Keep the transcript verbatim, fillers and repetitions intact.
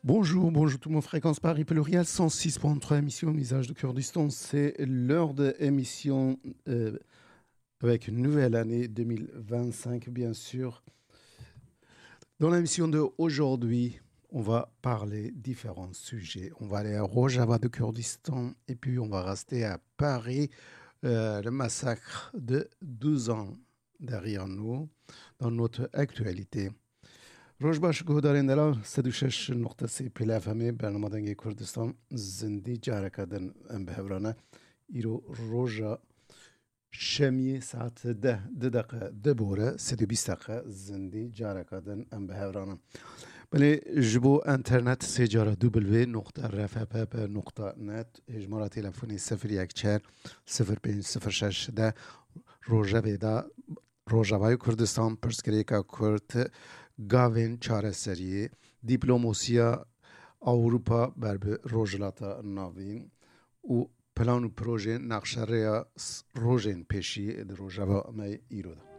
Bonjour, bonjour tout le monde. Fréquence Paris Pluriel, cent six point trois émission, Visage du Kurdistan. C'est l'heure de émission, euh, avec une nouvelle année deux mille vingt-cinq, bien sûr. Dans l'émission de aujourd'hui, on va parler différents sujets. On va aller à Rojava de Kurdistan et puis on va rester à Paris, euh, le massacre de douze ans derrière nous, dans notre actualité. Roj baş, guhdarên delal, sed û şeş nokta sê Pêle F M'ê, bernama Dengê Kurdistan, zindî careke din em bi hev re ne. Îro roja şemiyê saet deh, du deqe di bore, sed û bîst deqe zindî careke din em bi hev re ne. Belê ji bo enternet sê cara W nokta R F P P nokta net, hêjmara telefonê sifir yek çar sifir pênc sifir şeş de Rojevê de Rojavayê Kurdistan pirsgirêka Kurd, gavên çareseriyê, dîplomasiya Ewropa ber bi Rojhilata Navîn û plan û projên nexşerêya s-, rojên pêşî di Rojava me îro de.